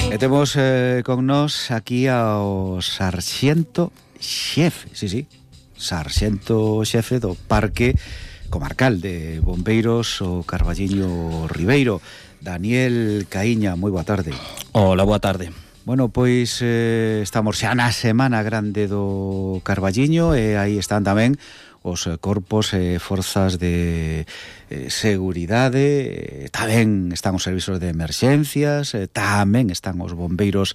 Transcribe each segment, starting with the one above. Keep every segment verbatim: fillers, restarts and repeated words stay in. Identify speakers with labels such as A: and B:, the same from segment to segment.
A: E temos eh, con nós aquí ao sarxento xefe, sí, sí, sarxento xefe do Parque Comarcal de Bombeiros o Carballiño Ribeiro, Daniel Caíña. Moi boa tarde.
B: Hola, boa tarde.
A: Bueno, pois eh, estamos xa na Semana Grande do Carballiño e aí están tamén os corpos e eh, forzas de eh, seguridade, eh, tamén están os servizos de emerxencias, eh, tamén están os bombeiros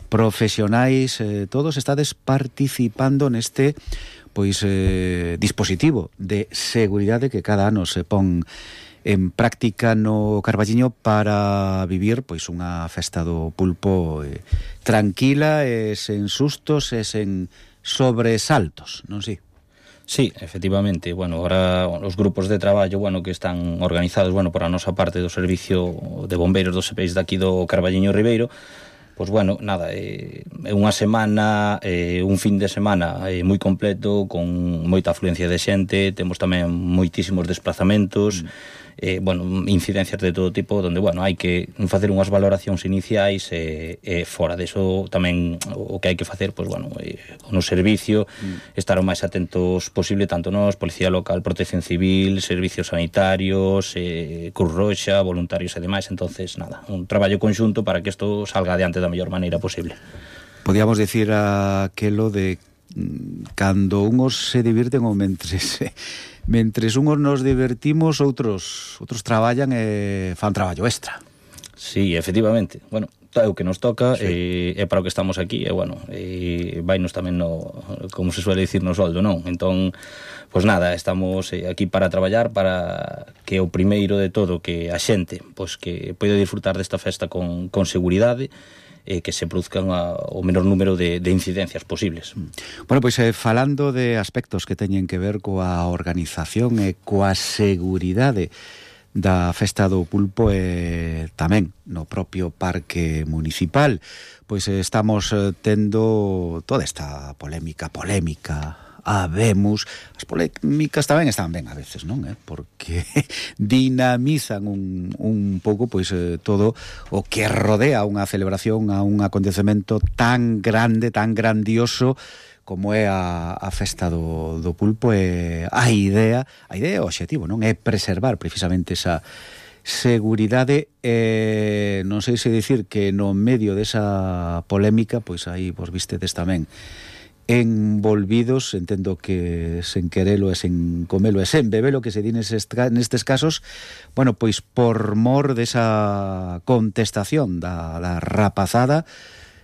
A: profesionais, eh, todos estades participando neste pois eh, dispositivo de seguridade que cada ano se pon en práctica no Carballiño para vivir pois unha festa do pulpo eh, tranquila e sen sustos e sen sobresaltos, non si?
B: Sí, efectivamente, bueno, ahora os grupos de traballo, bueno, que están organizados, bueno, por a nosa parte do Servicio de Bombeiros dos E P I S daqui do Carballiño Ribeiro, pois, bueno, nada, é eh, unha semana, eh, un fin de semana eh, moi completo, con moita afluencia de xente, temos tamén moitísimos desplazamentos, mm. Eh, bueno, incidencias de todo tipo, donde, bueno, hai que facer unhas valoracións iniciais e eh, eh, fora deso tamén o que hai que facer, pois, bueno, eh, no servicio, mm. estar o máis atentos posible, tanto nós, Policía Local, Protección Civil, Servicios Sanitarios, eh, Cruz Roxa, voluntarios e demais. Entonces, nada, un traballo conxunto para que isto salga adiante da mellor maneira posible.
A: Podíamos dicir aquelo de cando unhos se divirten ou mentres mentres unhos nos divertimos, outros outros traballan e fan traballo extra.
B: Sí, efectivamente. Bueno, é o que nos toca, sí. e é para o que estamos aquí, e bueno, e vainos tamén no, como se suele dicir, no soldo, non? Entón, pois nada, estamos aquí para traballar, para que o primeiro de todo, que a xente, pois que poida disfrutar desta festa con, con seguridade, e que se produzcan a, o menor número de, de incidencias posibles.
A: Bueno, pois eh, falando de aspectos que teñen que ver coa organización e coa seguridade da Festa do Pulpo e tamén no propio Parque Municipal, pois eh, estamos eh, tendo toda esta polémica, polémica, habemos, as polémicas tamén están ben a veces, non? Eh? Porque dinamizan un, un pouco pois eh, todo o que rodea unha celebración, a un acontecemento tan grande, tan grandioso como é a, a Festa do, do Pulpo. E a idea, a idea e o obxectivo, non? É preservar precisamente esa seguridade. E non sei se dicir que no medio desa polémica, pois aí vos vistedes tamén envolvidos, entendo que sen querelo e sen comelo e sen bebelo, que se di nestes, nestes casos, bueno, pois por mor desa contestación da, da rapazada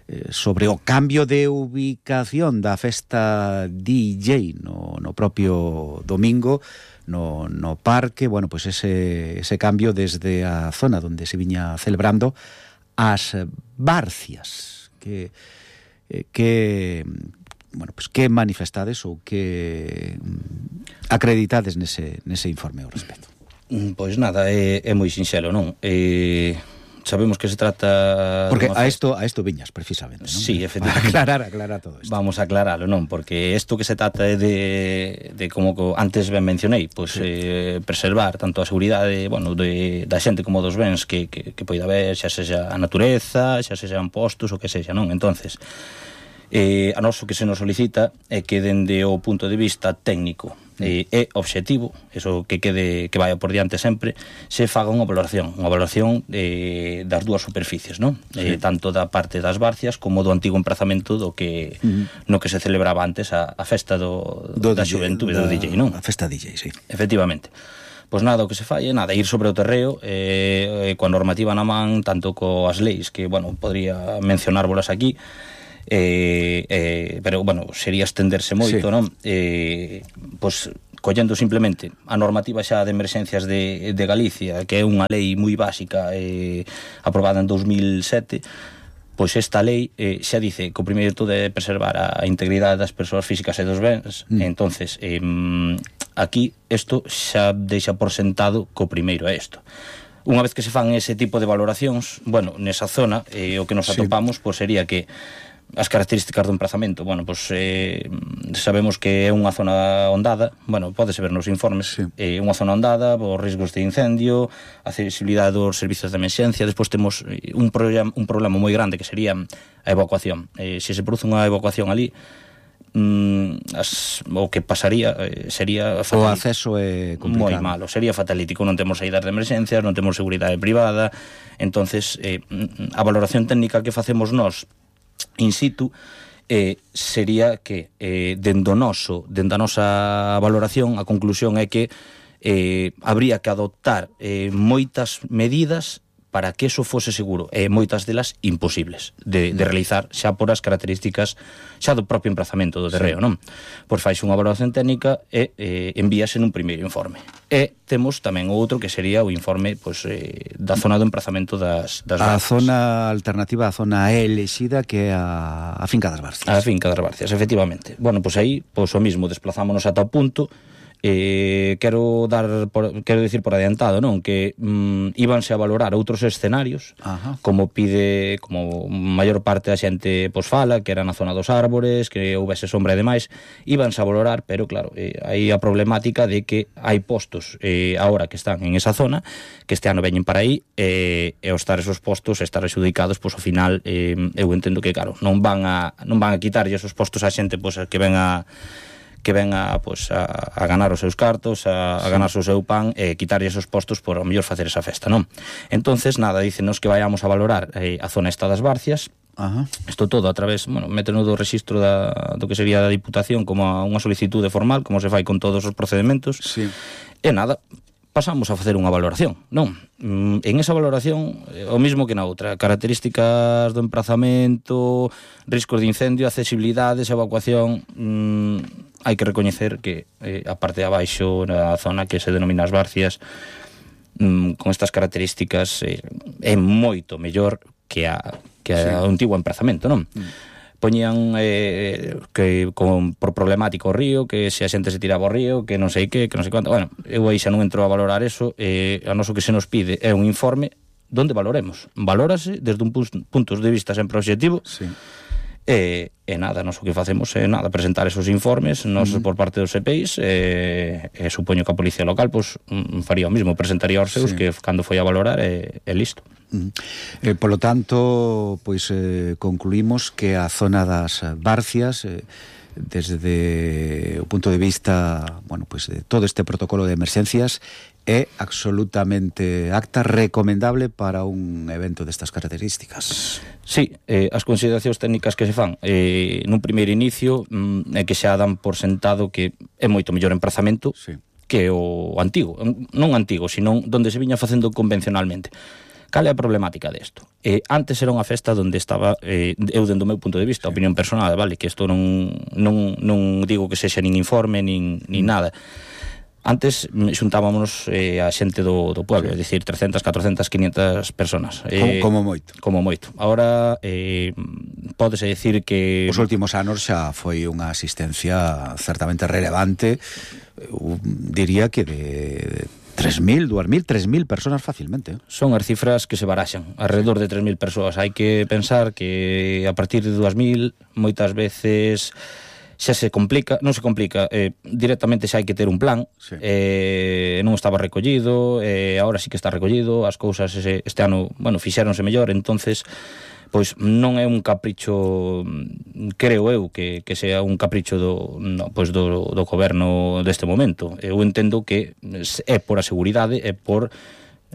A: eh, sobre o cambio de ubicación da festa D J no, no propio domingo no, no parque, bueno, pois ese, ese cambio desde a zona onde se viña celebrando as Barcias, que eh, que bueno, pues que manifestades ou que acreditades nese, nese informe ao respecto?
B: Pois nada, é, é moi sinxelo, non? Eh, sabemos que se trata...
A: Porque a isto, a isto viñas, precisamente, non?
B: Sí, efectivamente.
A: Aclarar, aclarar todo isto.
B: Vamos a aclararlo, non? Porque isto que se trata é de, de como antes ben mencionei, pois sí. eh, preservar tanto a seguridade, bueno, de, da xente como dos bens que, que, que poida haber, xa sexa a natureza, xa sexan postos, o que sexa, non? Entonces, Eh, a noso que se nos solicita é que dende o punto de vista técnico eh, e obxectivo, eso que quede que vaya por diante sempre, se faga unha valoración, unha valoración eh, das dúas superficies, non? Sí. Eh, tanto da parte das Barcias como do antigo emprazamento do que uh-huh. no que se celebraba antes a, a festa do, do da xuventude do D J, non?
A: A festa D J, sí.
B: Efectivamente. Pois nada, o que se fai é nada, ir sobre o terreo eh, coa normativa na man, tanto coas leis que, bueno, podría mencionárbolas aquí, Eh, eh, pero, bueno, sería estenderse moito, sí. Non? Eh, pois, collendo simplemente a normativa xa de emerxencias de, de Galicia, que é unha lei moi básica eh, aprobada en dos mil sete, pois esta lei eh, xa dice que o primeiro de todo é preservar a integridade das persoas físicas e dos bens. mm. Entonces, eh, aquí isto xa deixa por sentado que o primeiro é isto. Unha vez que se fan ese tipo de valoracións, bueno, nesa zona, eh, o que nos atopamos, sí. pois sería que as características do emprazamento, bueno, pois eh, sabemos que é unha zona ondada, bueno, pódese ver nos informes, sí. É eh, unha zona ondada, os riscos de incendio, a accesibilidade dos servizos de emerxencia. Despois temos un problema, un problema moi grande que sería a evacuación. Eh, se se produce unha evacuación ali, mm, as, o que pasaría eh, sería
A: fatalítico. O acceso é complicado.
B: Moi malo, sería fatalítico, non temos saídas de emerxencias, non temos seguridade privada. Entonces, eh, a valoración técnica que facemos nós in situ eh, sería que eh, dendo noso, dendo a nosa valoración, a conclusión é que eh, habría que adoptar eh, moitas medidas para que eso fose seguro, e moitas delas imposibles de, de realizar xa por as características xa do propio emprazamento do terreo, sí. Non? Pois fais unha valoración técnica e eh, envíase nun primeiro informe. E temos tamén outro que sería o informe pois, eh, da zona do emprazamento das, das
A: a
B: Barcias.
A: Zona alternativa, a zona elexida que é a, a finca das Barcias.
B: A finca das Barcias, efectivamente. Bueno, pois aí, pois o mismo, desplazámonos ata o punto. Eh, quero dar por, quero dicir por adiantado, non, que mm, íbanse a valorar outros escenarios. Ajá. Como pide, como maior parte da xente pois fala, que era na zona dos árbores, que houvese sombra e demais, íbanse a valorar, pero claro, eh, hai a problemática de que hai postos eh, agora que están en esa zona, que este ano veñen para aí, eh, e ao estar esos postos, estar adxudicados, pois ao final eh, eu entendo que claro, non van a non van a quitarlle esos postos á xente pois que ven a que ven a, pues, a, a ganar os seus cartos, a, a ganar o seu pan e quitarlle esos postos por ao mellor facer esa festa, non? Entonces, nada, dícenos que vayamos a valorar eh, a zona esta das Barcias. Ajá. Isto todo a través, bueno, méteno do registro da, do que sería da Diputación como a unha solicitude formal, como se fai con todos os procedementos. Sí. E nada, pasamos a facer unha valoración, non? En esa valoración, o mismo que na outra, características do emprazamento, riscos de incendio, accesibilidades, evacuación. Mmm, hai que recoñecer que eh, a parte de abaixo, na zona que se denomina as Barcias, mmm, con estas características eh, é moito mellor que a que sí. a antigo emprazamento, non? Mm. Poñían eh, que con, por problemático o río, que se a xente se tiraba ao río, que non sei que, que non sei quanto. Bueno, eu aí xa non entro a valorar eso, eh, a noso que se nos pide é un informe donde valoremos. Valórase desde un punto de vista sempre objetivo. Sí. E, e nada, nós o que facemos é nada, presentar esos informes nos uh -huh. por parte dos E P Is e, e supoño que a Policía Local pois, faría o mismo, presentaría os seus, sí. Que cando foi a valorar é, é listo.
A: Uh -huh. eh, Polo tanto, pois eh, concluímos que a zona das Barcias eh, desde o punto de vista, bueno, pois de todo este protocolo de emerxencias é absolutamente acta, recomendable para un evento destas características.
B: Sí, eh, as consideracións técnicas que se fan eh, nun primeiro inicio mm, é que xa dan por sentado que é moito mellor emprazamento, sí. Que o antigo, non antigo, sino donde se viña facendo convencionalmente. Cal é a problemática desto? Eh, antes era unha festa onde estaba, eh, eu dentro do meu punto de vista, sí. Opinión personal, vale, que isto non, non, non digo que sexa nin informe, nin, nin mm. nada. Antes xuntábamos eh, a xente do, do pueblo, sí. É dicir, trescentas, catrocentas, quinientas personas.
A: Eh, como, como moito.
B: Como moito. Ahora, eh, pódese dicir que...
A: Os últimos anos xa foi unha asistencia certamente relevante, eu diría que de tres mil, dous mil, tres mil personas facilmente.
B: Son as cifras que se baraxan, alrededor de tres mil persoas. Hai que pensar que a partir de dúas mil, moitas veces... xa se complica, non se complica, eh, directamente xa hai que ter un plan, sí. eh, non estaba recollido, eh, agora sí que está recollido, as cousas ese, este ano, bueno, fixéronse mellor, entonces, pois non é un capricho, creo eu, que, que sea un capricho do, no, pois do, do goberno deste momento. Eu entendo que é por a seguridade, é por...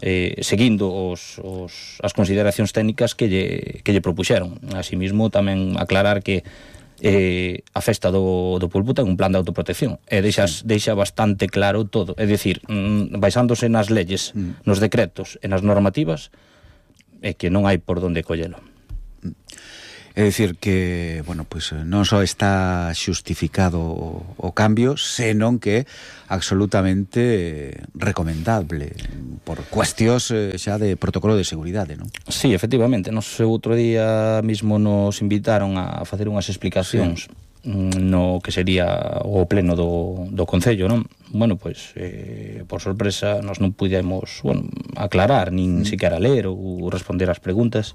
B: Eh, seguindo os, os, as consideracións técnicas que lle, que lle propuxeron. Así mismo, tamén aclarar que Eh, a festa do, do pulpo ten un plan de autoprotección e deixas, deixa bastante claro todo, é dicir, mm, basándose nas leyes, mm. nos decretos e nas normativas, é que non hai por donde collelo.
A: É dicir que, bueno, pois non só está xustificado o, o cambio, senón que é absolutamente recomendable por cuestións xa de protocolo de seguridade, non?
B: Sí, efectivamente, nos outro día mismo nos invitaron a facer unhas explicacións, sí. No que sería o pleno do, do Concello, non? Bueno, pois, eh, por sorpresa, nos non pudemos, bueno, aclarar, nin mm. siquiera ler ou responder as preguntas.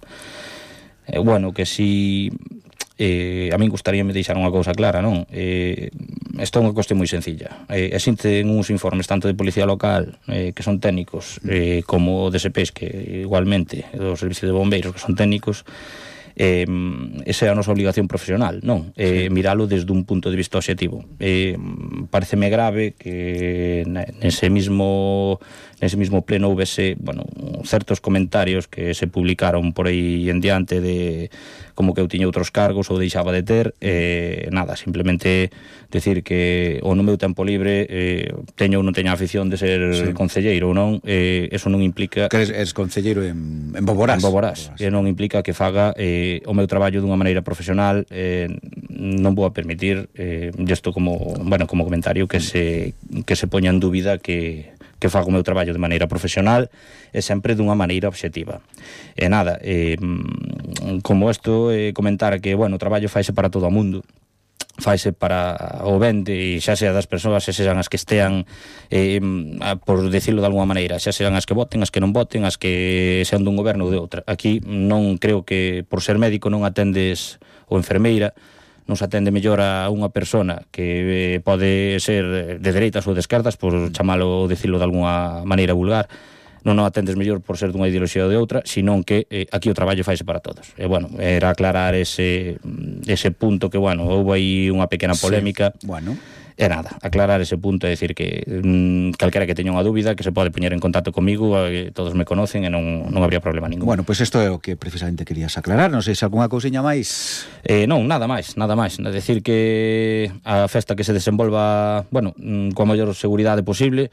B: Eh, bueno, que si eh, a min gustaríame deixar unha cousa clara, non? Eh, isto é unha cuestión moi sencilla. Eh, existen uns informes tanto de Policía Local, eh, que son técnicos, eh, como de S P S, que igualmente, do Servicio de Bombeiros, que son técnicos. Eh, esa é a nosa obligación profesional, non? Eh, sí. Miralo desde un punto de vista obxectivo. Eh, pareceme grave que nese mismo nese mismo pleno houvese, bueno, certos comentarios que se publicaron por aí en diante de como que eu tiña outros cargos ou deixaba de ter, eh, nada, simplemente decir que o no meu tempo libre eh, teño ou non teño a afición de ser sí. concelleiro ou non, eh, eso non implica
A: que eres, eres concelleiro en, en Boborás,
B: en Boborás, e non implica que faga eh, o meu traballo dunha maneira profesional. eh, non vou a permitir eh, isto como, bueno, como comentario que se, que se poña en dúbida que que fago o meu traballo de maneira profesional e sempre dunha maneira obxectiva. E nada, eh, como isto, eh, comentar que, bueno, o traballo faise para todo o mundo, faise para o ben de, xa sea das persoas, xa sean as que estean, eh, por decirlo de alguma maneira, xa sean as que voten, as que non voten, as que sean dun goberno ou de outra. Aquí non creo que por ser médico non atendes ou enfermeira, non se atende mellor a unha persona que eh, pode ser de dereitas ou de esquerdas, por chamalo ou dicilo de alguna maneira vulgar, non o atendes mellor por ser dunha ideoloxía ou de outra, senón que eh, aquí o traballo faise para todos. E, bueno, era aclarar ese, ese punto que, bueno, houve aí unha pequena polémica.
A: Sí. Bueno.
B: E nada, aclarar ese punto e decir que mm, calquera que teña unha dúbida que se pode poñer en contacto comigo, eh, todos me conocen e non, non habría problema ningún.
A: Bueno, pois pues isto é o que precisamente querías aclarar. Non sei se algunha cousiña máis.
B: Eh, non, nada máis, nada máis. É decir que a festa que se desenvolva, bueno, coa maior seguridade posible,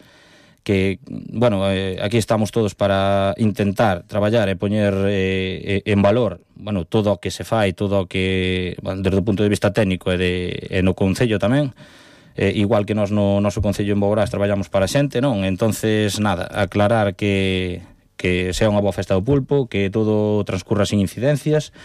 B: que, bueno, eh, aquí estamos todos para intentar traballar e poñer eh, en valor, bueno, todo o que se fai, todo o que, bueno, desde o punto de vista técnico e, de, e no concello tamén. Eh, igual que nós no noso concello en Boborás traballamos para a xente, non? Entonces, nada, aclarar que, que sea unha boa festa do pulpo, que todo transcurra sin incidencias,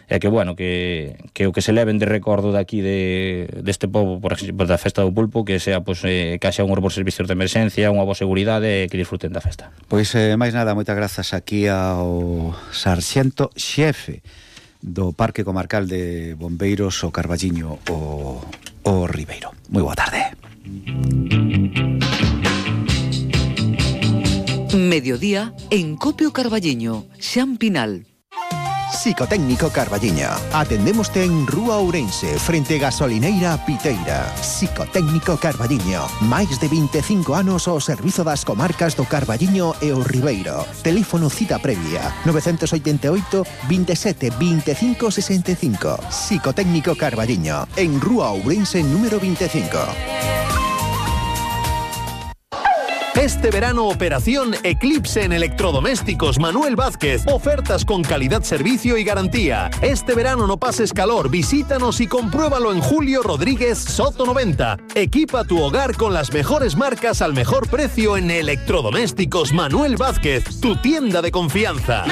B: e que, bueno, que, que o que se leven de recordo daqui de, deste povo, por exemplo, da festa do pulpo, que sea, pues, eh, que haxa un bons servicios de emerxencia, unha boa seguridade e que disfruten da festa.
A: Pois, eh, máis nada, moitas grazas aquí ao sarxento xefe do Parque Comarcal de Bombeiros o Carballiño o, o Ribeiro. Moi boa tarde.
C: Mediodía en Copio Carballiño, Xan Pinal.
D: Psicotécnico Carballiño. Atendémoste en Rúa Ourense, frente Gasolineira Piteira. Psicotécnico Carballiño. Máis de vinte e cinco anos ao servizo das comarcas do Carballiño e o Ribeiro. Teléfono cita previa nove oito oito, veintisiete, veinticinco sesenta e cinco. Psicotécnico Carballiño, en Rúa Ourense número veinticinco.
E: Este verano, operación Eclipse en electrodomésticos Manuel Vázquez. Ofertas con calidad, servicio y garantía. Este verano no pases calor, visítanos y compruébalo en Julio Rodríguez Soto noventa. Equipa tu hogar con las mejores marcas al mejor precio en electrodomésticos Manuel Vázquez, tu tienda de confianza.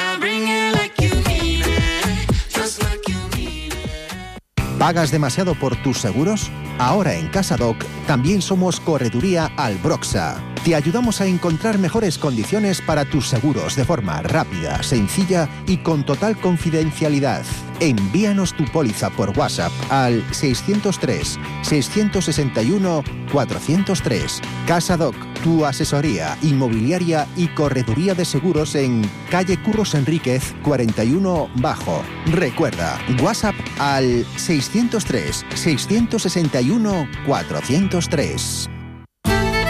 D: ¿Pagas demasiado por tus seguros? Ahora en CasaDoc también somos Correduría Albroxa. Te ayudamos a encontrar mejores condiciones para tus seguros de forma rápida, sencilla y con total confidencialidad. Envíanos tu póliza por WhatsApp al seiscientos tres, seiscientos sesenta y uno, cuatrocientos tres. CasaDoc, tu asesoría inmobiliaria y correduría de seguros en calle Curros Enríquez cuarenta y uno Bajo. Recuerda, WhatsApp al seiscientos tres, seiscientos sesenta y uno, cuatrocientos tres.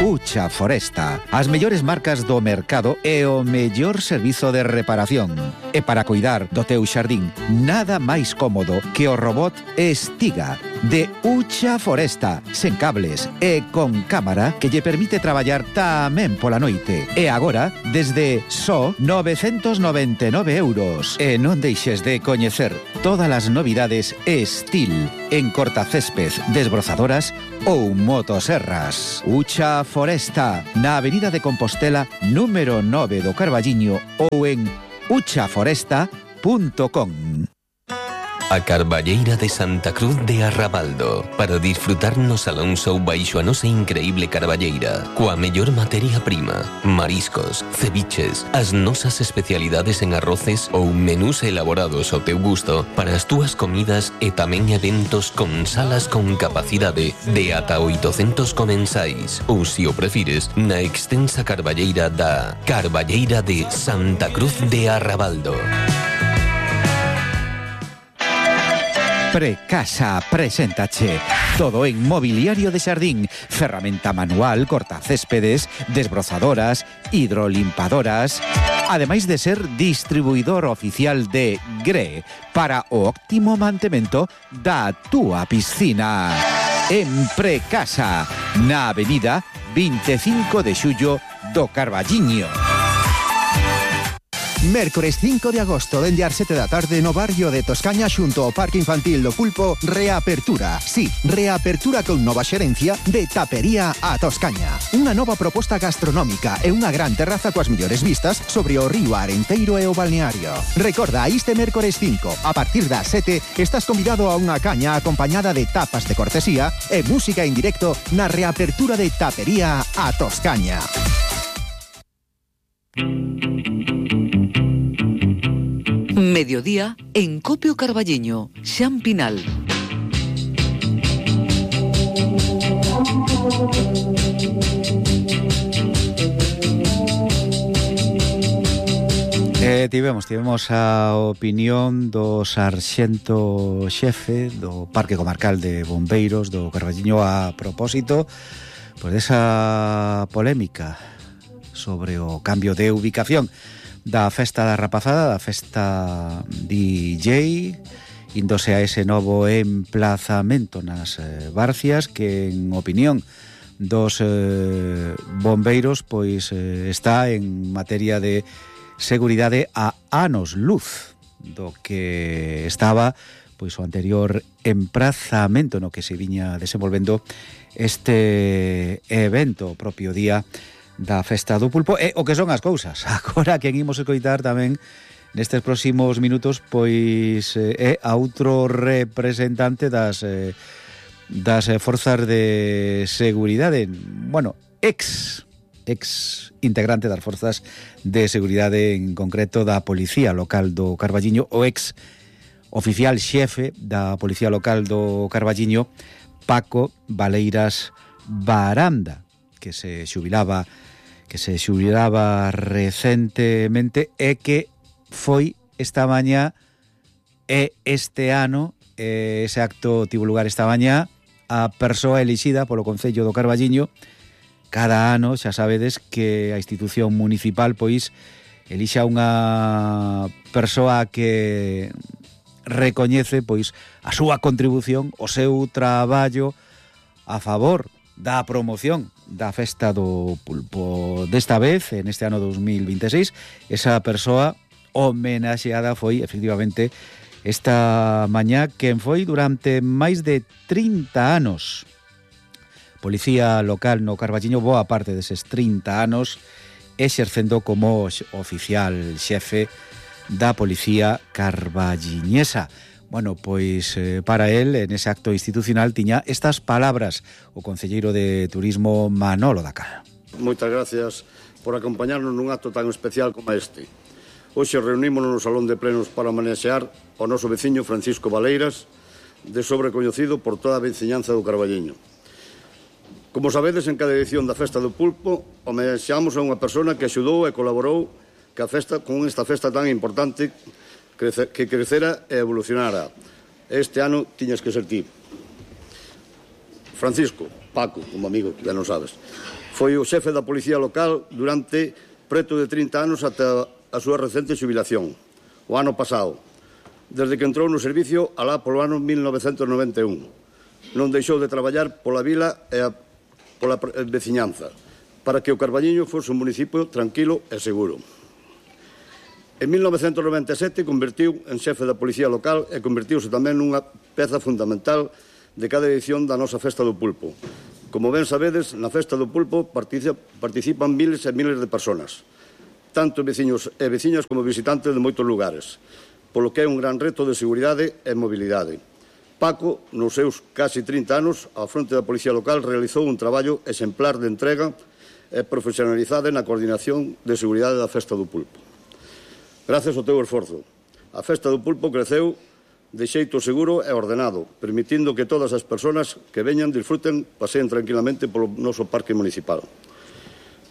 A: Ucha Foresta, as mellores marcas do mercado e o mellor servizo de reparación. E para cuidar do teu xardín, nada máis cómodo que o robot Estiga de Ucha Foresta, sen cables e con cámara que lle permite traballar tamén pola noite. E agora, desde só novecentos noventa e nove euros. E non deixes de coñecer todas as novidades Estil en cortacésped, desbrozadoras ou motoserras. Ucha Foresta, na Avenida de Compostela, número nove do Carballiño ou en ucha foresta punto com.
F: a Carballeira de Santa Cruz de Arrabaldo, para disfrutar no Salón Show baixo a nosa increíble carballeira, coa mellor materia prima, mariscos, ceviches, as nosas especialidades en arroces ou menús elaborados ao teu gusto para as túas comidas e tamén eventos con salas con capacidade de ata oitocentos comensais, ou, se o prefires, na extensa carballeira da Carballeira de Santa Cruz de Arrabaldo.
A: Precasa preséntache todo en mobiliario de xardín, ferramenta manual, cortacéspedes, desbrozadoras, hidrolimpadoras, ademais de ser distribuidor oficial de Gre para o óptimo mantemento da túa piscina. En Precasa, na avenida vinte e cinco de xullo do Carballiño.
D: Mércores cinco de agosto, dende as sete da tarde no barrio de Toscaña xunto ao Parque Infantil do Pulpo, reapertura. Sí, reapertura con nova xerencia de Tapería a Toscaña. Unha nova proposta gastronómica e unha gran terraza coas mellores vistas sobre o río Arenteiro e o balneario. Recorda, este mércores cinco, a partir das sete, estás convidado a unha caña acompañada de tapas de cortesía e música en directo na reapertura de Tapería a Toscaña.
C: Mediodía en Copio Carballeño, Xan Pinal.
A: Eh, tivemos, tivemos a opinión do sarxento xefe do Parque Comarcal de Bombeiros do Carballiño a propósito pois desa polémica sobre o cambio de ubicación da festa da rapazada, da festa D J, índose a ese novo emplazamento nas eh, Barcias, que en opinión dos eh, bombeiros pois eh, está en materia de seguridade a anos luz do que estaba pois o anterior emprazamento no que se viña desenvolvendo este evento propio día da festa do pulpo, e o que son as cousas. Agora quen imos escoitar tamén nestes próximos minutos pois é a outro representante das eh, das forzas de seguridade, bueno, ex ex integrante das forzas de seguridade, en concreto da Policía Local do Carballiño, o ex oficial xefe da Policía Local do Carballiño, Paco Valeiras Baranda, que se xubilaba que se xubilaba recentemente e que foi esta mañá e este ano, e ese acto tivo lugar esta mañá, a persoa elixida polo Concello do Carballiño. Cada ano xa sabedes que a institución municipal pois elixa unha persoa que recoñece pois a súa contribución, o seu traballo a favor da promoción da festa do pulpo. Desta vez, en este ano dos mil vinte e seis, esa persoa homenaxeada foi, efectivamente, esta mañá, quen foi durante máis de trinta anos Policía Local no Carballiño, boa parte deses trinta anos, exercendo como oficial xefe da Policía Carballiñesa. Bueno, pois eh, para él, en ese acto institucional, tiña estas palabras o concelleiro de Turismo Manolo Dacal.
G: Moitas gracias por acompañarnos nun acto tan especial como este. Hoxe reunímonos no Salón de Plenos para homenaxear ao noso veciño Francisco Valeiras, de sobrecoñecido por toda a veciñanza do Carballiño. Como sabedes, en cada edición da Festa do Pulpo homenaxeamos a unha persona que axudou e colaborou que a festa, con esta festa tan importante que crecera e evolucionara. Este ano tiñas que ser ti. Francisco, Paco, como amigo, ya non sabes, foi o xefe da Policía Local durante preto de trinta anos ata a súa recente xubilación, o ano pasado, desde que entrou no servicio alá polo ano mil novecentos noventa e un. Non deixou de traballar pola vila e a, pola veciñanza, para que o Carballiño fose un municipio tranquilo e seguro. En mil novecentos noventa e sete convertiu en xefe da Policía Local e convertiuse tamén nunha peza fundamental de cada edición da nosa Festa do Pulpo. Como ben sabedes, na Festa do Pulpo participan miles e miles de personas, tanto veciños e veciñas como visitantes de moitos lugares. polo que é un gran reto de seguridade e mobilidade. Paco, nos seus casi trinta anos, ao fronte da Policía Local, realizou un traballo exemplar de entrega e profesionalizada na coordinación de seguridade da Festa do Pulpo. Gracias ao teu esforzo, a Festa do Pulpo creceu de xeito seguro e ordenado, permitindo que todas as persoas que veñan disfruten, paseen tranquilamente polo noso parque municipal.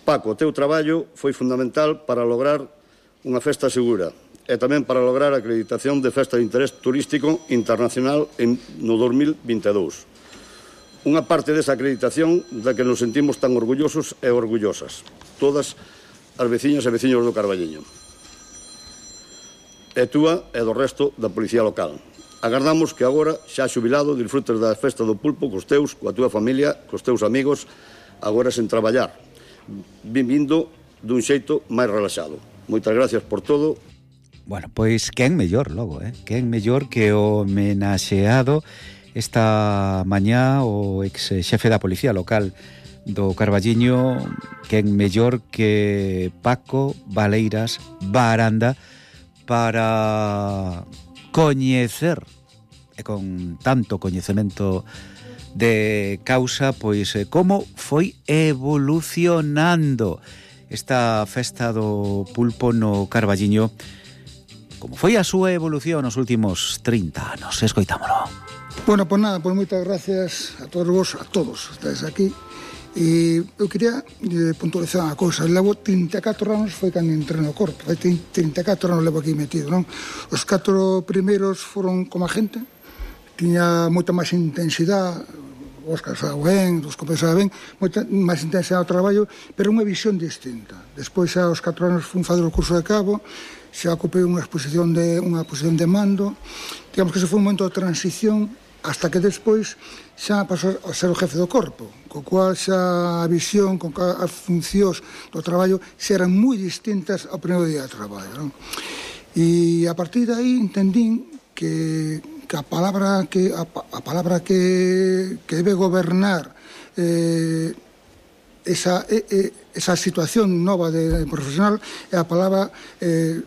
G: Paco, o teu traballo foi fundamental para lograr unha festa segura e tamén para lograr a acreditación de Festa de Interés Turístico Internacional no dos mil vinte e dous. Unha parte desa acreditación da que nos sentimos tan orgullosos e orgullosas, todas as veciñas e veciños do Carballiño. E túa e do resto da Policía Local. Agardamos que agora, xa xubilado, disfrutes da Festa do Pulpo cos teus, coa túa familia, cos teus amigos, agora sen traballar, vivindo dun xeito máis relaxado. Moitas gracias por todo.
A: Bueno, pois quen mellor logo, eh? Quen mellor que o homenaxeado esta mañá o ex xefe da Policía Local do Carballiño, quen mellor que Paco Valeiras Baranda para coñecer, e con tanto coñecemento de causa, pois como foi evolucionando esta Festa do Pulpo no Carballiño, como foi a súa evolución nos últimos trinta anos. Escoitámolo.
H: Bueno, pois nada, pois moitas gracias a todos vos, a todos estáis aquí. E eu quería eh, puntualizar unha cousa. Levo trinta e catro anos foi cando entrei no corpo. Foi trinta e catro anos levo aquí metido, non? Os catro primeiros foron como agente. Tiña moita máis intensidade, Óscar sabe ben, os compañeros sabe ben, moita máis intensidade ao traballo, pero unha visión distinta. Despois, xa aos catro anos, fui fazer o curso de cabo, xa ocupei unha exposición de, unha posición de mando. Digamos que ese foi un momento de transición, hasta que despois xa pasou a ser o jefe do corpo, co cual xa a visión, con as funcións do traballo xa eran moi distintas ao primeiro día de traballo, non? E a partir de aí entendín que, que a palabra que a, a palabra que, que debe gobernar eh, esa, eh, esa situación nova de, de profesional é a palabra eh,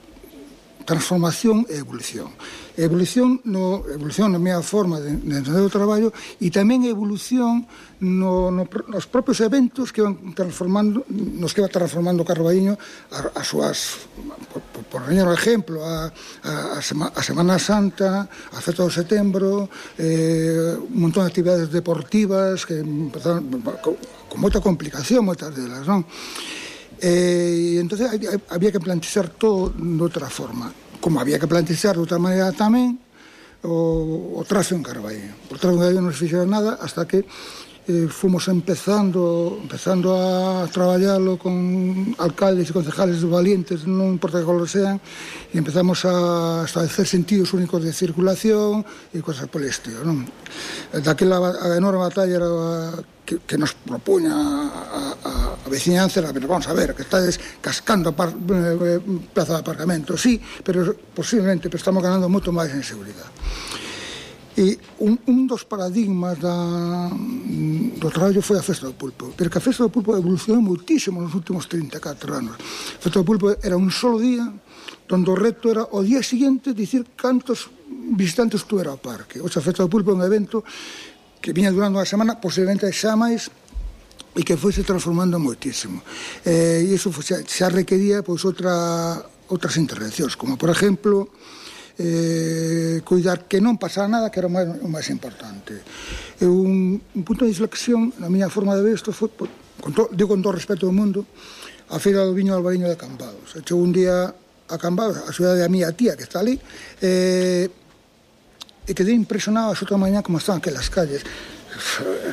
H: transformación e evolución. Evolución, no, evolución na minha forma de, de entender o traballo e tamén evolución no, no, nos propios eventos que van transformando, nos que va transformando o Carballiño as súas, por, por, por poñer un exemplo, a, a, a, Sema, a Semana Santa, a Festa do Setembro, eh, un montón de actividades deportivas que empezaron con, con moita complicación, moitas delas, non? E eh, entón había que plantear todo de outra forma, como había que plantear de outra maneira tamén o, o trazo en Carballiño. Por trazo en Carballiño non se fixeron nada hasta que eh, fomos empezando empezando a traballarlo con alcaldes e concejales valientes, non importa que color sean, e empezamos a establecer sentidos únicos de circulación e cosas por el estilo, non? Daquela a enorme batalla era que, que nos propuña a, a, a veciñanza, pero vamos a ver, que estades cascando par, eh, plaza de aparcamento, sí, pero posiblemente pero estamos ganando moito máis en seguridade. E un, un dos paradigmas da, do traballo foi a Festa do Pulpo, pero que a Festa do Pulpo evolucionou moitísimo nos últimos trinta e catro anos. A Festa do Pulpo era un solo día, donde o reto era o día seguinte dicir cantos visitantes tuera ao parque. O sea, a Festa do Pulpo é un evento que viña durando unha semana, posiblemente xa máis, e que foi se transformando moitísimo. Eh, e iso xa, xa requería pois, outra, outras intervencións, como, por exemplo, eh, cuidar que non pasara nada, que era o máis, o máis importante. E un, un punto de inflexión, na miña forma de ver isto, foi, con to, digo con todo o respeto do mundo, a Feira do Viño Albariño de Cambados. Chegou un día a Cambados, a cidade da miña tía, que está ali, eh, e quedei impresionado a outra mañá como estaban aquelas calles,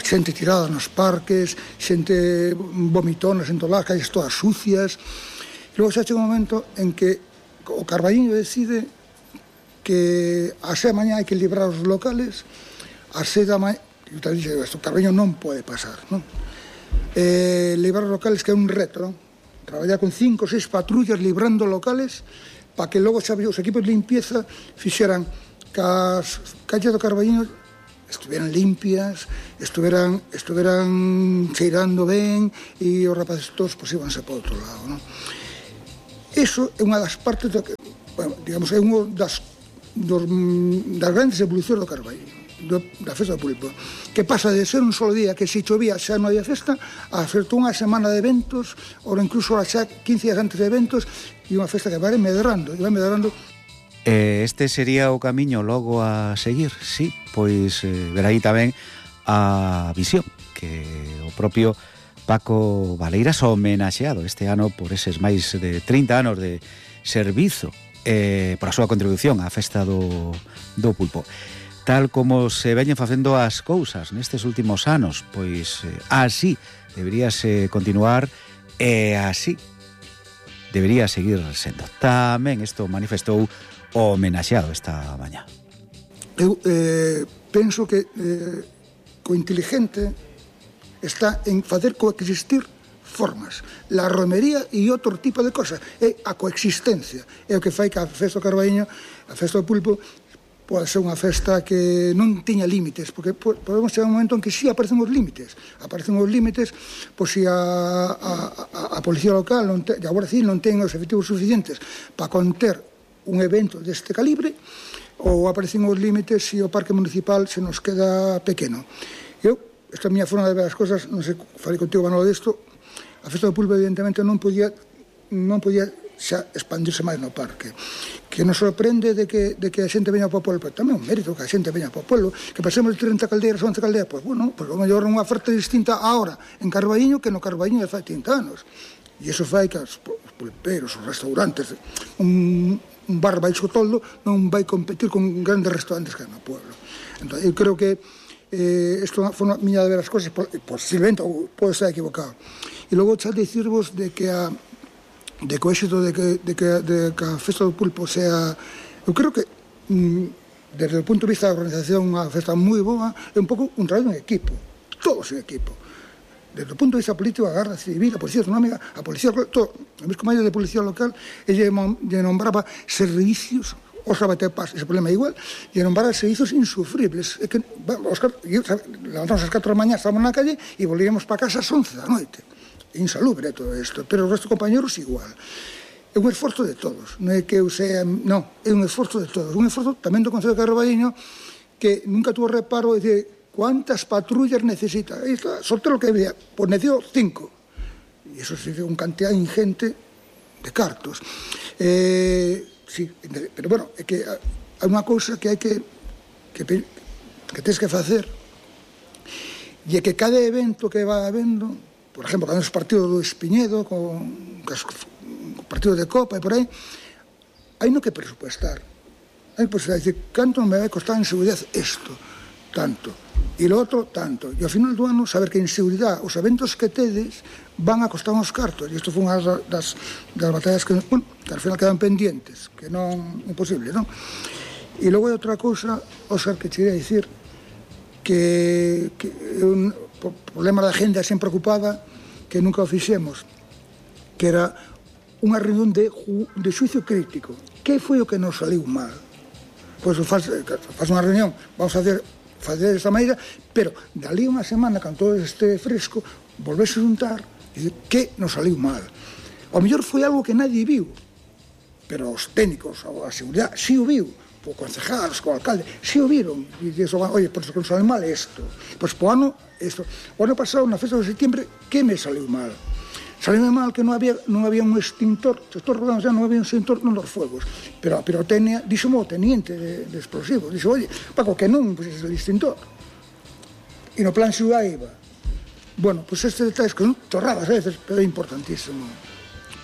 H: xente tirada nos parques, xente vomitona en todas as calles todas sucias. E logo xa chega un momento en que o Carballiño decide que a seis da mañá hai que librar os locales, a seis da mañá, e te dixe, o Carballiño non pode pasar, non? Eh, librar os locales, que é un reto, non? Traballar con cinco ou seis patrullas librando locales para que logo xa os equipos de limpieza fixeran que as calles do Carballiño estuveran limpias, estuveran, estuveran cheirando ben e os rapaces todos pues, íbanse para outro lado, non? Iso é unha das partes do que, bueno, digamos, é unha das dos, das grandes evolucións do Carballiño, do, da festa do pulpo, que pasa de ser un solo día que se chovía xa non había festa a ser toda unha semana de eventos, ou incluso xa quince días antes de eventos, e unha festa que vai medrando, e vai medrando.
A: Este sería o camiño logo a seguir, sí, pois eh, ver aí tamén a visión que o propio Paco Valeiras homenaxeado este ano por eses máis de trinta anos de servizo eh, por a súa contribución á festa do, do pulpo. Tal como se veñen facendo as cousas nestes últimos anos, pois eh, así deberíase continuar e así debería seguir sendo. Tamén isto manifestou o homenaxeado esta mañá.
H: Eu eh, penso que eh, co inteligente está en facer coexistir formas. La romería e outro tipo de cosas. É a coexistencia. É o que fai que a festa do Carballiño, a festa do pulpo, pode ser unha festa que non tiña límites, porque podemos chegar a un momento en que sí aparecen os límites. Aparecen os límites, pois se a, a, a policía local non te, e a Guardia Civil non ten os efectivos suficientes para conter un evento deste calibre, ou aparecen os límites se o parque municipal se nos queda pequeno. Eu, esta é a miña forma de ver as cosas, non sei, falei contigo, Manolo, desto, a festa do pulpo evidentemente non podía non podía xa expandirse máis no parque, que nos sorprende de que, de que a xente veña para o pueblo, pero tamén un mérito que a xente veña para o pueblo, que pasemos de trinta caldeiras a once caldeiras, pois bueno, pois o mellor unha oferta distinta ahora en Carballiño que no Carballiño de fai trinta anos, e iso fai que os pulperos, os restaurantes, un un bar baixo toldo non vai competir con grandes restaurantes que hai no pueblo. Entón, eu creo que eh, isto foi unha miña de ver as cosas, posiblemente, ou pode estar equivocado. E logo xa dicirvos de que a de que o éxito de que, de que, de que a festa do pulpo sea, eu creo que mm, desde o punto de vista da organización unha festa moi boa, é un pouco un traballo en equipo, todos en equipo. Desde o punto de vista político, a Garda Civil, a Policía Autonómica, a Policía Local, todo, o mesmo maio de Policía Local, elle nombraba servicios, os abatepas, ese problema é igual, e nombraba servicios insufribles. É que, os, levantamos as catro da mañá, estábamos na calle, e volvíamos para casa ás once da noite. Insalubre todo isto, pero o resto de compañeros igual. É un esforzo de todos, non é que eu sea, non, é un esforzo de todos, un esforzo tamén do Concello de Carballiño, que nunca tuvo reparo de ¿cuántas patrullas necesita? Ahí está, sorteo lo que había, pues necesito cinco. Y eso significa una cantidad ingente de cartos. Eh, sí, pero bueno, é que hai unha cousa que hai que que, que tens que facer, e é que cada evento que va habendo, por exemplo, cando é o partido do Espiñedo, con, con partido de Copa e por aí, hai no que presupuestar. Hai que presupuestar, decir, canto me vai costar en seguridade isto, tanto. E lo outro, tanto. E ao final do ano, saber que en seguridade os eventos que tedes van a costar uns cartos. E isto foi unha das, das batallas que, bueno, que ao final quedan pendientes, que non imposible, non? E logo hai outra cousa, Óscar, que che ia dicir, que, que é un problema da agenda sempre ocupada, que nunca o fixemos, que era unha reunión de, de xuicio crítico. Que foi o que nos saliu mal? Pois faz, faz unha reunión, vamos a facer facer desta maneira, pero dali unha semana, cando todo este fresco, volvese a juntar e dizer que nos saliu mal. Ao mellor foi algo que nadie viu, pero os técnicos, a seguridade, si o viu, o concejal, o alcalde, si o viron, e dixo, oye, por eso que nos saliu mal isto. Pois po ano, isto. O ano pasado, na festa de setembro, que me saliu mal? Saliu mal que non había, non había un extintor, se estou rodando xa, non había un extintor non dos fuegos, pero a pirotecnia, dixo o teniente de, de explosivos, dixo, oye, Paco, que non, pois pues, é o extintor. E no plan ciudad iba. Bueno, pois pues, estes detalles que son torradas a veces, pero é importantísimo.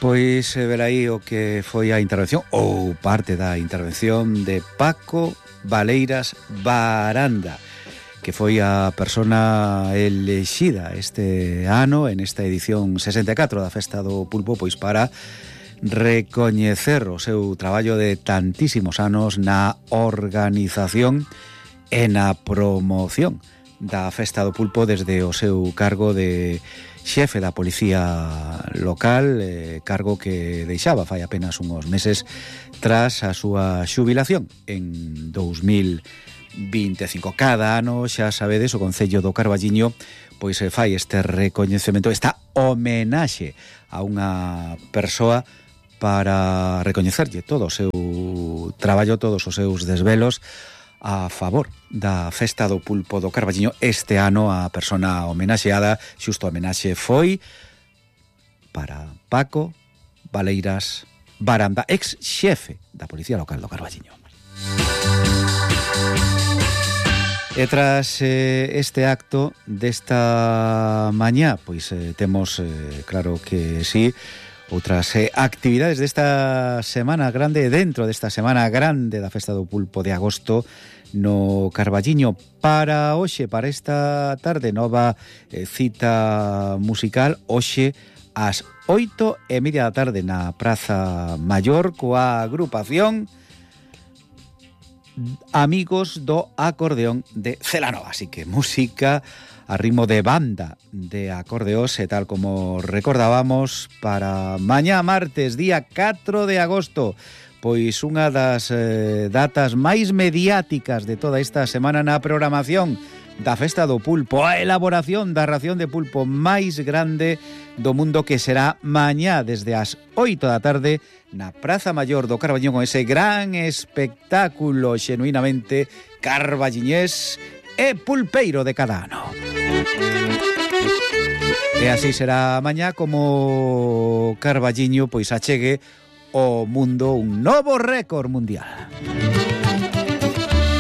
A: Pois ver aí o que foi a intervención, ou parte da intervención de Paco Valeiras Baranda, que foi a persona elexida este ano en esta edición sesenta e catro da Festa do Pulpo, pois para recoñecer o seu traballo de tantísimos anos na organización e na promoción da Festa do Pulpo desde o seu cargo de xefe da Policía Local, eh, cargo que deixaba fai apenas uns meses tras a súa xubilación en dous mil vinte e cinco. Cada ano, xa sabedes, o Concello do Carballiño pois se fai este recoñecemento, esta homenaxe a unha persoa para recoñecerlle todo o seu traballo, todos os seus desvelos a favor da Festa do Pulpo do Carballiño. Este ano a persona homenaxeada, xusto a homenaxe, foi para Paco Valeiras Baranda, ex xefe da Policía Local do Carballiño. E tras eh, este acto desta mañá, pois eh, temos, eh, claro que sí, outras eh, actividades desta semana grande, dentro desta semana grande da Festa do Pulpo de agosto no Carballiño. Para hoxe, para esta tarde, nova eh, cita musical, hoxe ás oito e media da tarde na Praza Maior coa agrupación Amigos do Acordeón de Celanova. Así que música a ritmo de banda de acordeós, e tal como recordábamos, para mañá martes, día catro de agosto, pois unha das eh, datas máis mediáticas de toda esta semana na programación da Festa do Pulpo, a elaboración da ración de pulpo máis grande do mundo, que será mañá desde as oito da tarde na Praza Maior do Carballiño, con ese gran espectáculo xenuinamente carballiñés e pulpeiro de cada ano. E así será mañá como Carballiño pois achegue ao mundo un novo récord mundial.